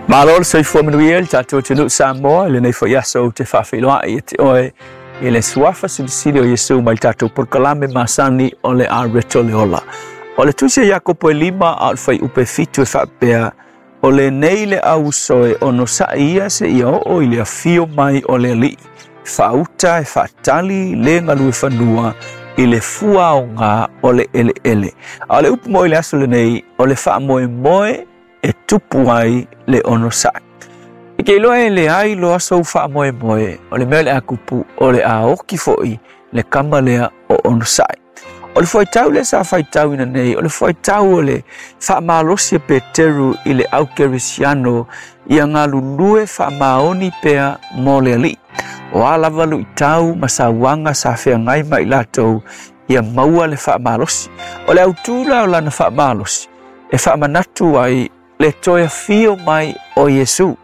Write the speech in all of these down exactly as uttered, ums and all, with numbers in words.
Malo le soifua manuia le tatou atunuu Samoa i lenei foi aso ou te faafeiloai ia te oe i le suafa silisili o Iesu mai le tatou polokalame masani o le Areto le Ola. O le tusi a Iakopo e lima a o le fuaiupu e fitu e faapea, o lenei le auuso e onosa'i ia seia oo i le afio mai o le Alii, faauta e faatali le galue fanua i le fuaoga o le eleele. A o le upu mo i le aso lenei, o le faamoemoe e tupu ai le onosa'i. I ke iloa e leai loa sou faamoemoe, o le mea o le a tupu, o le a oki foi le kama lea o onosa'i. O le fuaitau lea sa faitauina nei, o le fuaitau o le faamalosi a Peteru i le au kerisiano ia galulue faamaoni pea mo le Alii. O a lava luitau ma sauaga sa feagai ma i latou ia maua le faamalosi. O le autū la o lana faamalosi e faamanatu ai le toe afio mai o Iesu.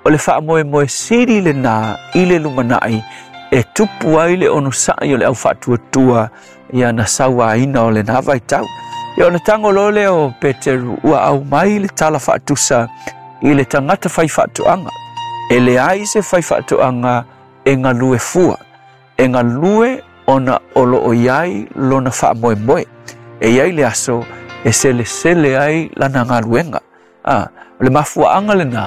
O le faamoemoe sili lenā i le lumanai e tupu ai le onosa'i o le au faatuatua ia na sauaina o lenā vaitau. Ia ona tago loa lea o Peteru ua aumai le tala faatusa i le tagata fai faatoaga. E leai se fai faatoaga e galue fua, e galue ona o loo i ai lona faamoemoe. E i ai le aso e selesele ai lana galuega. Ah, o le mafuaaga lenā,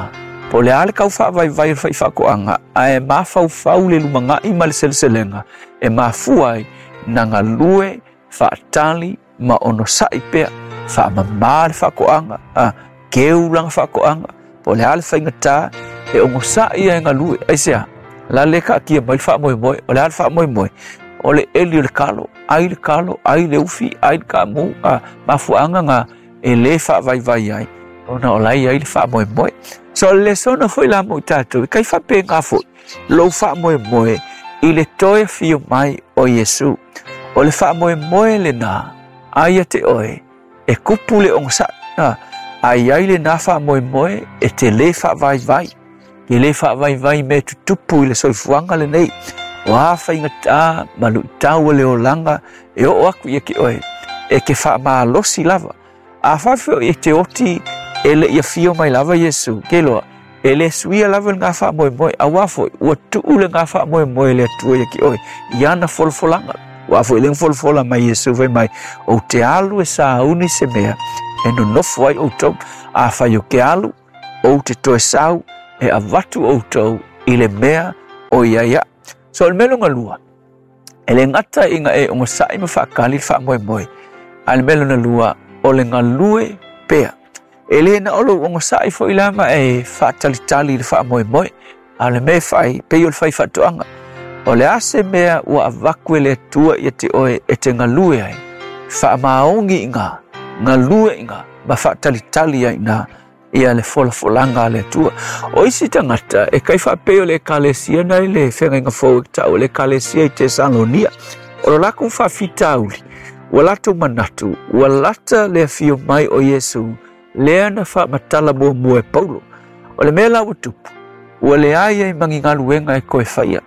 po o le a le kau faavaivai o le faifaatoaga, ae mafaufau le lumaga'i ma le seleselega e mafua ai na galue faatali ma onosa'i pea, faamamā le faatoaga, ah, keu lana faatoaga, po o le a le faigatā e ogosa'i ai galue. Aisea, la le kaatia mai le faamoemoe, o le a le faamoemoe, o le eli o le kalo, ai le kalo, ai le ufi, ai le kamu, ah, mafuaaga ga e lē faavaivai ai, ona o lai ai le faamoemoe. So o le lesona foi la mo i tatou, e kai faapegā foi lou faamoemoe i le toe afio mai o Iesu. O le faamoemoe lenā ai ia te oe e kupu le ogosa'i, ah, a i ai lenā faamoemoe e te lē faavaivai, te lē faavaivai mea tutupu i le soifuaga lenei. O a faigatā ma luitau o le olaga e oo aku ia te oe, e ke faamalosi lava. A faafeoi e te oti e le'i afio mai lava Iesu, ke iloa, e lē suia lava lenā faamoemoe, auā foi ua tuu lenā faamoemoe e le Atua ia te oe i ana folafolaga. Ua foi lea na folafola mai Iesu fai mai, ou te alu e sauni se mea e nonofo ai outou. Afai ou te alu, ou te toe sau e avatu outou i le mea o i ai aʻu. So o le mea lona lua, e lē gata ina e ogosa'i ma faatali le faamoemoe, a le mea lona lua, o le galue pea. E lē na o lou ogosa'i foi la ma e faatalitali i le faamoemoe, a o le mea e fai, pei o le fai faatoaga. O le a se mea ua avatu e le Atua ia te oe e te galue ai, faamaoni iinā, galue iinā, ma faatalitali ai iinā ia le folafolaga a le Atua. O isi tagata e kai faapei o le ekalesia na i le Feagaiga Fou e ta'u o le ekalesia i Tesalonia. O lo latou faafitauli, ua latou manatu, ua lata le afio mai o Iesu lea na faamatala muamua e Paulo. O le mea la ua tupu, ua leai ai ma ni galuega e toe faia,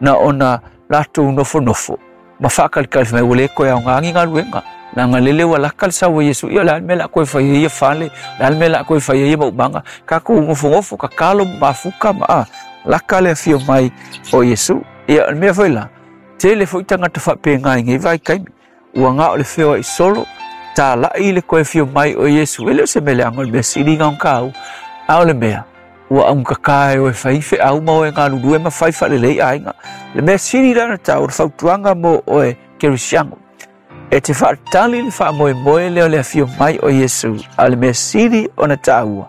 na ona latou nofonofo ma faatalitali fai mai ua lē toe aogā ni galuega. Leaga lele ua lata le sau o Iesu, ia o le a le mea o le a toe faia ia fale, o le a le mea o le a toe faia ia maumaga, tatou nofonofo tatalo ma mafuta ma a, lata le afio mai o Iesu. Ia o le mea foi la, tele foi tagata faapegā i nei vaitaimi, ua na o le feoa'i solo, tala'i le toe afio mai o Iesu. E le o se mea leaga, o le mea sili na ona tāua, a o le mea, ua augatata e oe fai feau ma oe galulue ma fai faalelei aiga. Le mea sili la ona taua, o le fautuaga mo oe kerisiano, e te faatali le faamoemoe lea o le afio mai o Iesu, a o le mea sili ona taua,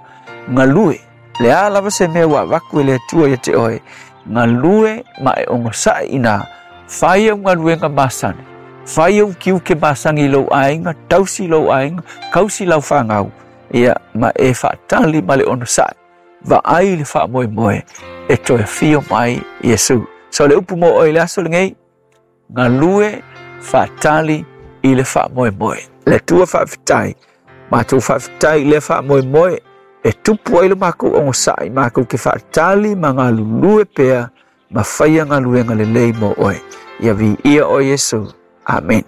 galue. Le a lava se mea ua avatu e le Atua ia te oe, galue ma e ogosa'i iinā, fai au galuega masani, fai au tiute masani i lou aiga, tausi lou aiga, tausi lau fanau, ia ma e faatali ma le onosa'i, vaai le faamoemoe e toe afio mai Iesu. So le upu mo oe i le aso lenei, galue faatali i le faamoemoe. Le Atua faafetai, matou faafetai i lea faamoemoe e tupu ai le makou ogosa'i, makou te faatali ma galulue pea ma faia galuega lelei mo oe. Ia viia oe Iesu. Amen.